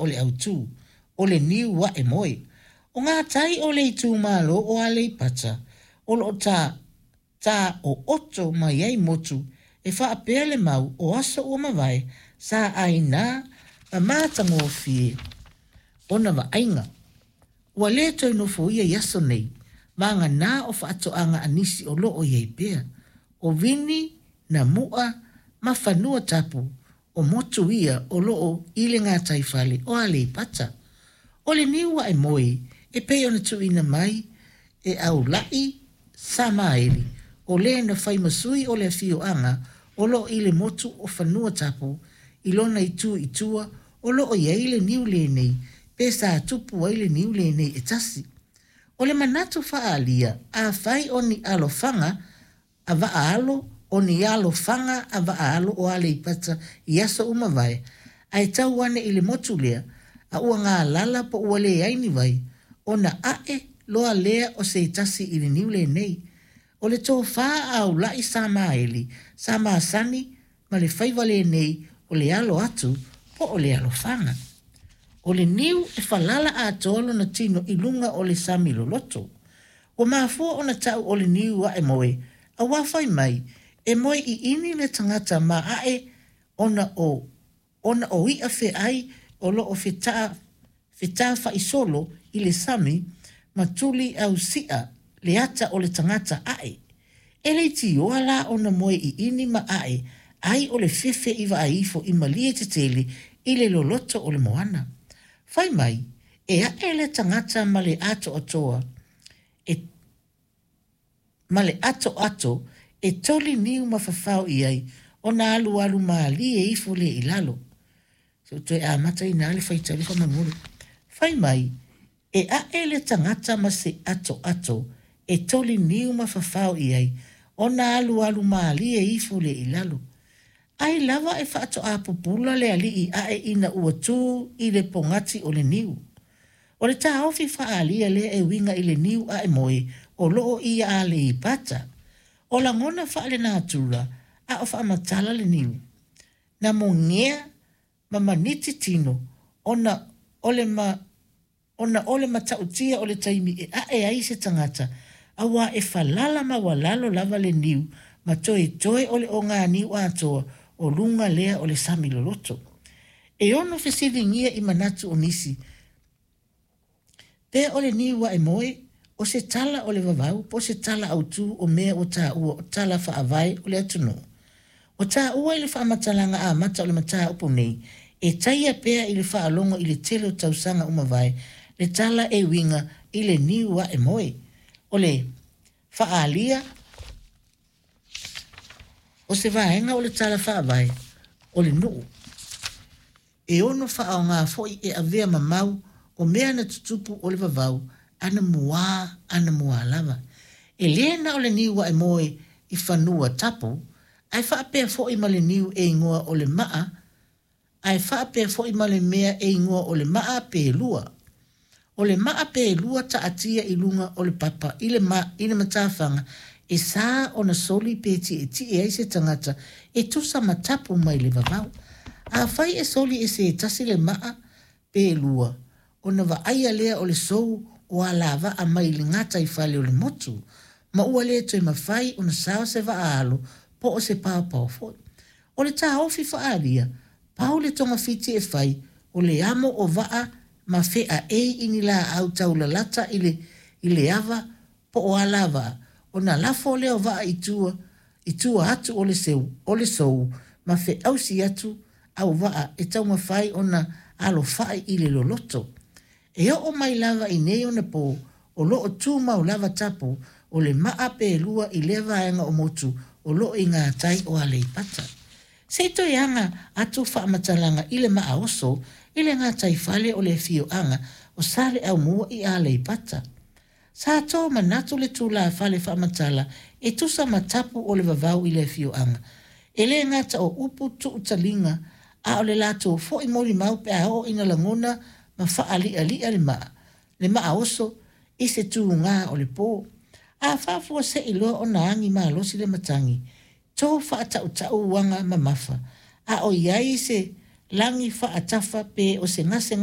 o le autū, o le niu aʻe moe. O gatai o le itumalo o Aleipata o loo ta ta ooto mai ai motu e faapea le mau o aso ua mavae sa ainá ma matagofie ona vaaiga. Ua le toe nofoia i aso nei, vagana o faatoaga a nisi o loo i ai pea. O Vini, Namu'a ma Fanuatapu o motu ia o loo i le gataifale o Aleipata. O le niu aʻe moe e pei ona tuuina mai e Aulaʻi Samaeli, o le na fai ma sui o le afioaga o loo i le motu o Fanuatapu i lona itu i tua o loo i ai le niu lenei pe sa tupu ai le niu lenei e tasi. O le manatu faaalia, afai o ni alofaga a vaa-alo, o ni alofaga a vaa-alo o Aleipata i aso ua mavae, ae tau ane i le motu lea, a ua galala po ua leai ni vai, ona ae loa lea o se tasi i le niu lenei. O le tofā a Aulaʻi Samaeli sa masani ma le faiva lenei o le alo atu po o le alofaga. O le niu e falala atoa lona tino i luga o le sami loloto. Ua mafua ona ta'u o le niu aʻe moe, auā fai mai, e moe ʻiʻini le tagata ma aʻe ona o ona o iʻa feʻai o loo fetafaʻisolo i le sami ma tuli ausiʻa le ata o le tagata aʻe. E leitioa la ona moe ʻiʻini ma aʻe ai o le fefe i vaai ifo i malie tetele i le loloto o le moana. Fai mai, e aʻe le tagata ma le atoatoa e ma le atoato e toli niu ma fafao i ai ona alualu mālie ifo lea i lalo. Se i ou toe amata ina le faitau lea faamolemole. Fai mai, e aʻe le tagata ma se atoato e toli niu ma fafao i ai ona alualu mālie ifo lea i lalo. Ai lava e faatoā pupula le alii aʻe ina ua tū i le pogati o le niu. O le taofi faaalia lea e uiga i le niu aʻe moe o loo i Aleipata. O lagona faalenatura a o faamatala le niu. Na mogea ma maniti tino ona o le ma ona o le matautia o le taimi e aʻe ai se tagata, auā e falala maualalo lava le niu ma toetoe o le oganiu atoa o luga lea o le sami loloto. E ono fesiligia i manatu o nisi, pe o le niu aʻe moe, o se tala o le vavau po o se tala autū o mea ua taua o tala faavae o le atunuu. Ua taua i le faamatalaga amata o le mataupu nei, e taia pea i le faalogo i le tele o tausaga ua mavae le tala e uiga i le niu aʻe moe. O le faaalia o se vaega o le tala faavae o le nuu. E ono faaaogā foi e avea ma mau o mea na tutupu o le vavau anamuā anamuā lava. E lē na o le niu aʻe moe i Fanuatapu, ae faapea foi ma le niu e igoa o le maa ae faapea foi ma le mea e igoa o le maa pelua. O le maa pelua taatia i luga o le papa i le i le matafaga e sā ona soli pe tietie ai se tagata e tusa ma tapu mai le vavau. Afai e soli e se tasi le maa pelua, ona vaaia lea o le sou o alavaa mai le gataifale o le motu, ma ua le toe mafai ona sao se vaa alo po o se paopao foi. O le taofi faaalia, pau le togafiti e fai, o le amo o vaa ma feaei i ni laau taulalata i le i le ava po o alavaa, ona lafo lea o vaa i tua i tua atu o le seu o le sou ma feausi atu au vaa e taumafai ona alofaʻi i le loloto. E oo mai lava i nei onapō, o loo tumau lava tapu o le maa pelua i lea vaega o motu o loo i gatai o Aleipata. Se i toe aga atu faamatalaga i le maa oso i le gataifale o le afioaga o Saleaaumua i Aleipata. Sa tomanatu le tulafale faamatala e tusa ma tapu o le vavau i le afioaga. E lē gata o upu tuutaliga, a o le latou foi molimau pe a oo ina lagona ma faaliʻaliʻa le maa, le maa oso i se tugā o le pō. A faafuasei loa ona agi malosi le matagi, to faataʻutaʻu uaga mamafa, a o i ai se lagi faatafa pe o se gasegase.